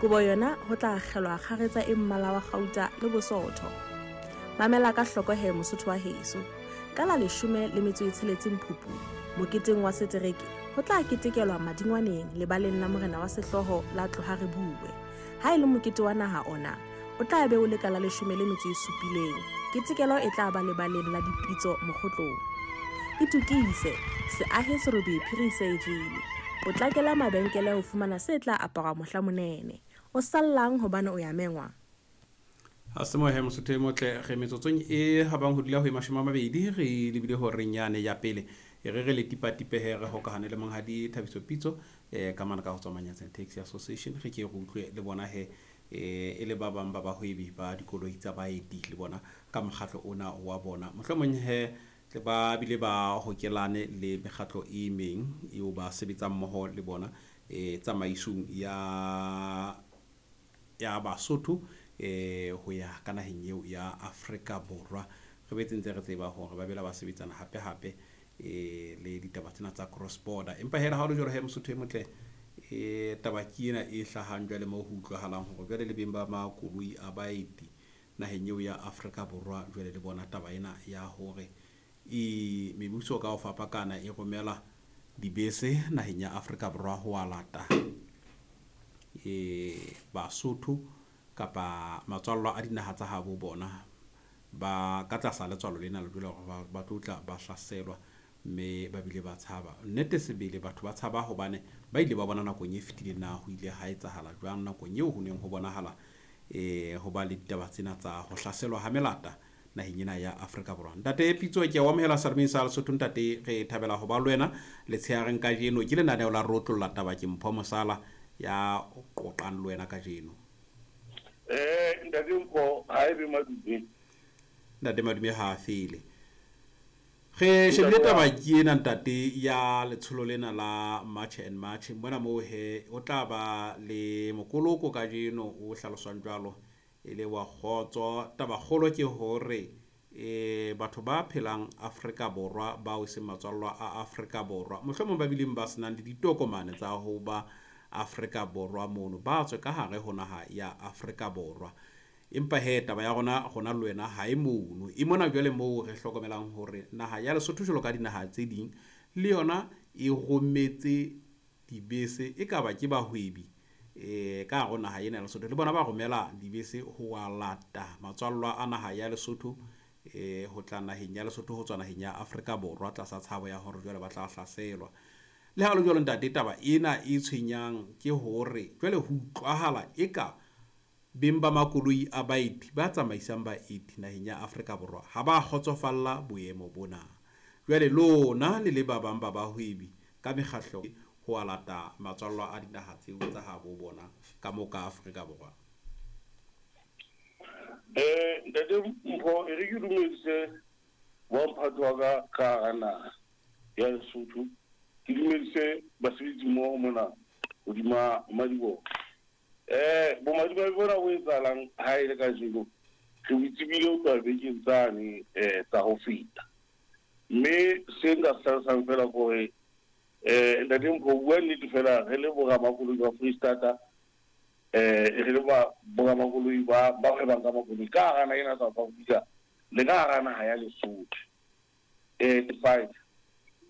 Kobo yona ho tla akgelwa kgaretsa e mmala wa kgauta le bosootho. Mamela ka hloko he Mosotho wa heso. Ka la 16 Phupu, moketeng wa setereke, ho tla ketekelwa Madingwaneng lebaleng la Morena wa Sehlooho la Tloha Re Bue. Ha e le mokete wa naha ona, o tla be o le ka la 17. Ketekelo e tla ba lebaleng la Dipitso Mokgotlong. Itokise, se ahe serobe phiri se e jele. Potlakela mabenkele ho fumana se tla aparwa mohla monene. O sallang hobane o ya mengwa? Ha se mohe Mosotho e motle re metsotsong e habang ho dula ho e 20 re lebile horeng yane ya pele. E re re le tipatipehe re hokahane le monghadi Thabiso Pitso ka mane ka ho tswa Manyatseng Taxi Association. Re ke re utlwe le bona he e le ba bang ba bahwebi ba dikoloi tsa baeti le bona ka mokgatlo ona wa bona. Mohlomong he tle ba bile ba hokelane le mekgatlo e meng eo ba sebetsang mmoho le bona tsamaisong ya Basotho ho ya ka naheng eo ya Afrika Borwa. Re betse ntse re tseba hore ba bela ba sebetsana hape hape le ditaba tsena tsa cross border. Empa hela ha o le jwalo he Mosotho e motle taba ke ena e hlahang jwale moo ho utlwahalang hore jwale le beng ba makoloi a baeti naheng eo ya Afrika Borwa jwale le bona taba ena ya hore e mebuso ka ho fapakana e romela dibese naheng ya Afrika Borwa ho a lata Basotho kapa matswallwa a dinaha tsa habo bona ba ka tlasa letswalo lena le dula hore ba tlo tla ba hlaselwa mme ba bile ba tshaba. Nnete sebele batho ba tshaba hobane ba ile ba bona nakong e fetileng na ho ile ha etsahala jwang nakong eo ho neng ho bonahala ho ba le ditaba tsena tsa ho hlaselwa ha melata naheng ena ya Afrika Borwa. Ntate Pitso ke o amohela Salomeng sa Lesotho ntate, re thabela ho ba le wena letshehareng kajeno. Ke lenaneo la Rotlolla Taba, ke Mpho Mosala ya qoqang le wena kajeno. Ntate Mpho, ha ebe madume. Ntate madume ha a fele. Re shebile taba ke ena ntate ya letsholo lena la March and March. Mona moo he o tla ba le mokoloko kajeno o hlaloswang jwalo e le wa kgotso. Taba kgolo ke hore batho ba phelang Afrika Borwa bao e seng matswallwa a Afrika Borwa, mohlomong ba bileng ba senang le ditokomane tsa ho ba Afrika Borwa mono, ba tswe ka hare ho naha ya Afrika Borwa. Empa he taba ya rona rona le wena ha e mono, e mona jwale moo re hlokomelang hore naha ya Lesotho jwalo ka dinaha tse ding le yona e rometse dibese, e ka ba ke bahwebi ka hare ho naha ena ya Lesotho, le bona ba romela dibese ho wa lata matswallwa a naha ya Lesotho ho tla naheng ya Lesotho ho tswa naheng ya Afrika Borwa tlasa tshabo ya hore jwale ba tla hlaselwa. Le ha le jwalo ntate, taba ena e tshwenyang ke hore jwale ho utlwahala eka beng ba makoloi a baeti ba tsamaisang baeti naheng ya Afrika Borwa ha ba kgotsofalla boemo bona. Jwale lona le le ba bang ba bahwebi ka mekgahlo ho a lata matswallwa a dinaha tseo tsa habo bona ka moo ka Afrika Borwa. Ntate Mpho, e re ke dumedise wa mphato wa ka ka hara naha ya Lesotho, ke dumedise basebetsi mmoho mona hodima madiboho. Bomadimabe bona bo etsahalang ha e le kajeno, re bo tsebile ho tloha bekeng tsane tsa ho feta. Mme se nka se hlalosang fela ke hore ntate Mpho, bua nnete fela, re le boramakoloi ba Freistata, re le boramakoloi ba hwebang ka makoloi ka hara naha ena South Africa le ka hara naha ya Lesotho. 5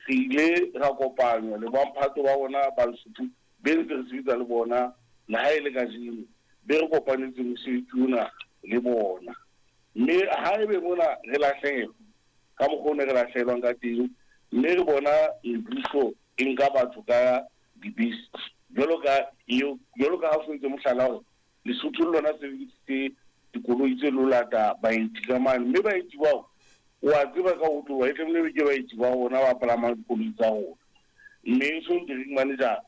re ile ra kopanywa le bamphato ba bona ba Lesotho be ntse re sebetsa le bona le ha e le kajeno, be re kopanetse mosebetsi ona le bona. Mme ha ebe mona re lahlehelwa ka mokgwa o ne re lahlehelwang ka teng, mme re bona mebuso e nka batho ka dibese jwalo ka eo, jwalo ka ha o sentse mohlala hore Lesotho le lona sebedisitse dikoloi tse lo lata baeti ka mane, mme baeti bao o a tseba ka ho tloha e tlamehile ke baeti ba rona ba palamang dikoloi tsa rona. Mme so di-ring manager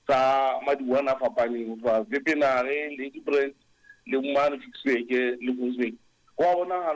tsa madiwane a fapaneng ho tloha Wepener, Ladybrand le mane Ficksburg le Kongsburg, ho a bonahala.